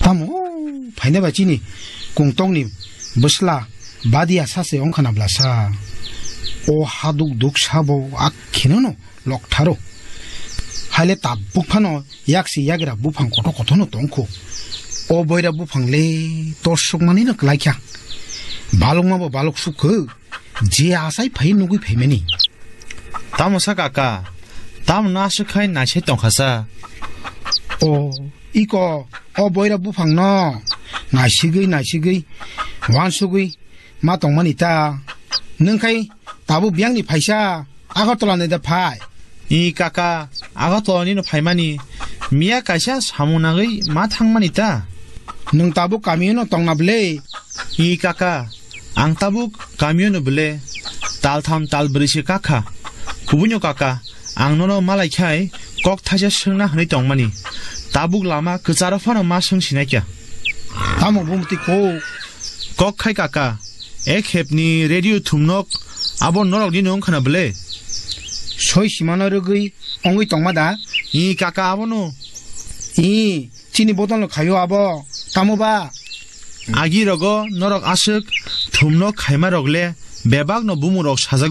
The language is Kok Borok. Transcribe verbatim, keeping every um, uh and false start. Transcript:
Tamo phaina ba chini kungtokni bwsla badia sa se wngkha na bwlasa. O haduk duk sabo akheno no loktharo. Haile tabuk phano yaksi yagra buphang koto koto no tongkho. O boira buphang le torsuk mani no klaikha. Balok ma bo balok sukho. Je asai phai nugui phaimani. Tamo sa kaka, tamo no aswk khai naisai tongkha sa. O, iko, o boira buphang no naisigui, naisigui, wansugui ma tongmani ta. Nwng khai tabuk biyang ni phaisa Agartala ni da phai. I kaka, Agartala ni no phaimani, miya kaisa samung nagui ma thangmani ta. Nwng tabuk kamio no tongna bwle? I kaka, ang tabuk kamio no bwle, tal tham tal bwrwi se kakha. Kubunyo kaka, ang nono malai khai kok thaisa swngna hwnwi tongmani. Tabuk lama kwcharo phano ma swng sinai kya. Tamo bumti kok? Kok khai kaka, ek hepni radio thumnok abo norok ni nung khana bwle? Soi simano rwgwi ongwi tongma da? I kaka abono. I, chini bodol no khaio abo, tamo ba? Agi rogo norok aswk thumno khaima rok le bebak no bumung rok sajak